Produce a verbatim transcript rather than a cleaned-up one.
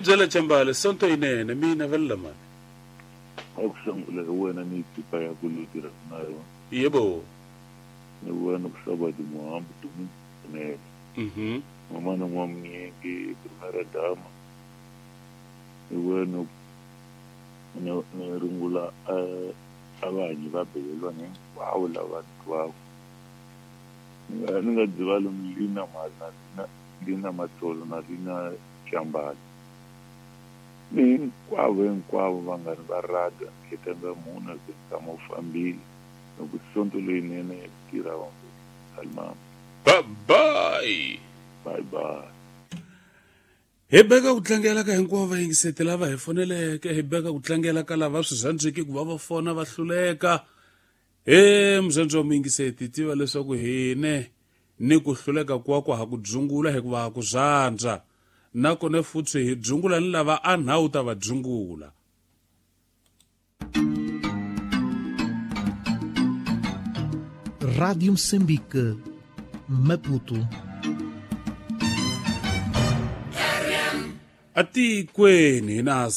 Byela Chambale sonto yinene mina vela mani. A ku sungula hi wena ni ekipa ya ku leyi tirhaka na yona. Yebo. Ni wena ku saba dimuhambi dumi ne. Mhm. Mama na n'wamnyingi primera dama. Ni wena ni ni rungula eh avanyi va belelwa hinkwavo lava twaku. Ni nga ni nga dzivali lina na lina lina matsolo na lina Chambale. Ni hinkwavo hinkwavo vanghani va radio nkhetanga muna se tshama u fambile loko sonto leyinene ya ku tirha salimama. Bye bye. Bye bye. Hi beka ku tlangela ka hinkwavo vayingiseti lava hi foneleke, hi beka ku tlangela ka lava swi rhandzeki ku va va fona va hluleka. He muzandzo wa muyingiseti, tiva leswaku hine ni ku hluleka kwako ha ku dzungula hikuva ha ku zandza. Nakona futhi hi dzungula ni lava a nhawu ta va dzungula. Rádio Moçambique, Maputo. Atikweni na